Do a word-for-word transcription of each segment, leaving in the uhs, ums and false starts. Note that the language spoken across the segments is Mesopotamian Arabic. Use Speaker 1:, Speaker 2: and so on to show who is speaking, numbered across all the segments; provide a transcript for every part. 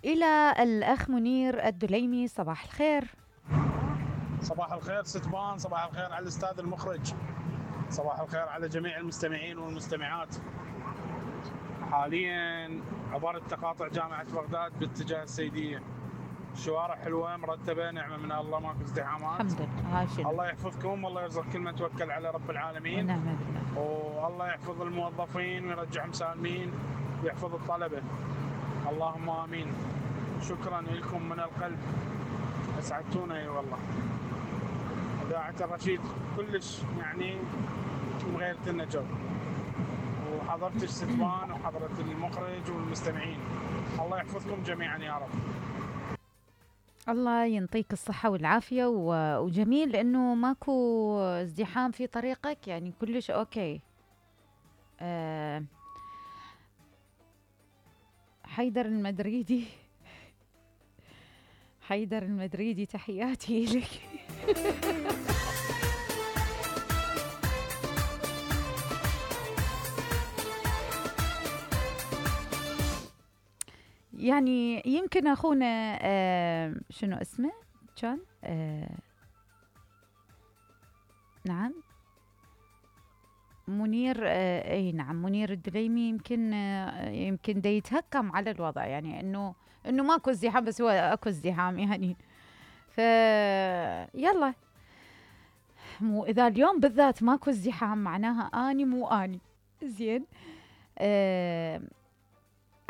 Speaker 1: إلى الأخ منير الدليمي. صباح الخير.
Speaker 2: صباح الخير ستبان، صباح الخير على الأستاذ المخرج، صباح الخير على جميع المستمعين والمستمعات. حاليا عبرت تقاطع جامعة بغداد باتجاه السيدية. الشوارع حلوة مرتبة، نعمة من الله، ماكو ازدحامات.
Speaker 1: الحمد لله. هاي شنو؟
Speaker 2: الله يحفظكم والله يرزق كل من توكل على رب العالمين.
Speaker 1: ونعم بالله.
Speaker 2: والله يحفظ الموظفين ويرجعهم سالمين ويحفظ الطلبة، اللهم آمين. شكرا لكم من القلب، أسعدتونا اي والله. إذاعة الرشيد كلش يعني مغيرت لنا جو، وحضرت الستبان وحضرت المخرج والمستمعين. الله يحفظكم جميعا يا رب.
Speaker 1: الله ينطيك الصحة والعافية، وجميل لأنه ماكو ازدحام في طريقك، يعني كلش أوكي. أه حيدر المدريدي حيدر المدريدي تحياتي لك. يعني يمكن أخونا آه شنو اسمه كان آه نعم منير آه اي نعم منير الدليمي، يمكن آه يمكن دا يتهكم على الوضع، يعني انه انه ماكو ازدحام، بس هو اكو ازدحام يعني. ف يلا، مو اذا اليوم بالذات ماكو ازدحام معناها اني مو اني زين. آه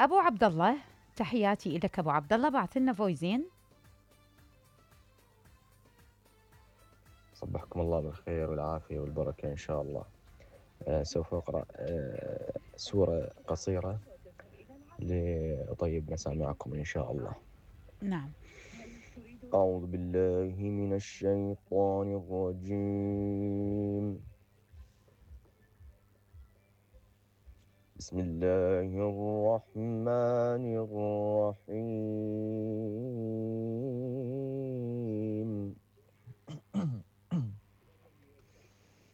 Speaker 1: ابو عبد الله، تحياتي لك ابو عبد الله، بعث لنا فويزين.
Speaker 3: صبحكم الله بالخير والعافية والبركة إن شاء الله. آه سوف أقرأ آه سورة قصيرة لأطيب مساء معكم إن شاء الله.
Speaker 1: نعم.
Speaker 3: أعوذ بالله من الشيطان الرجيم. بسم الله الرحمن الرحيم.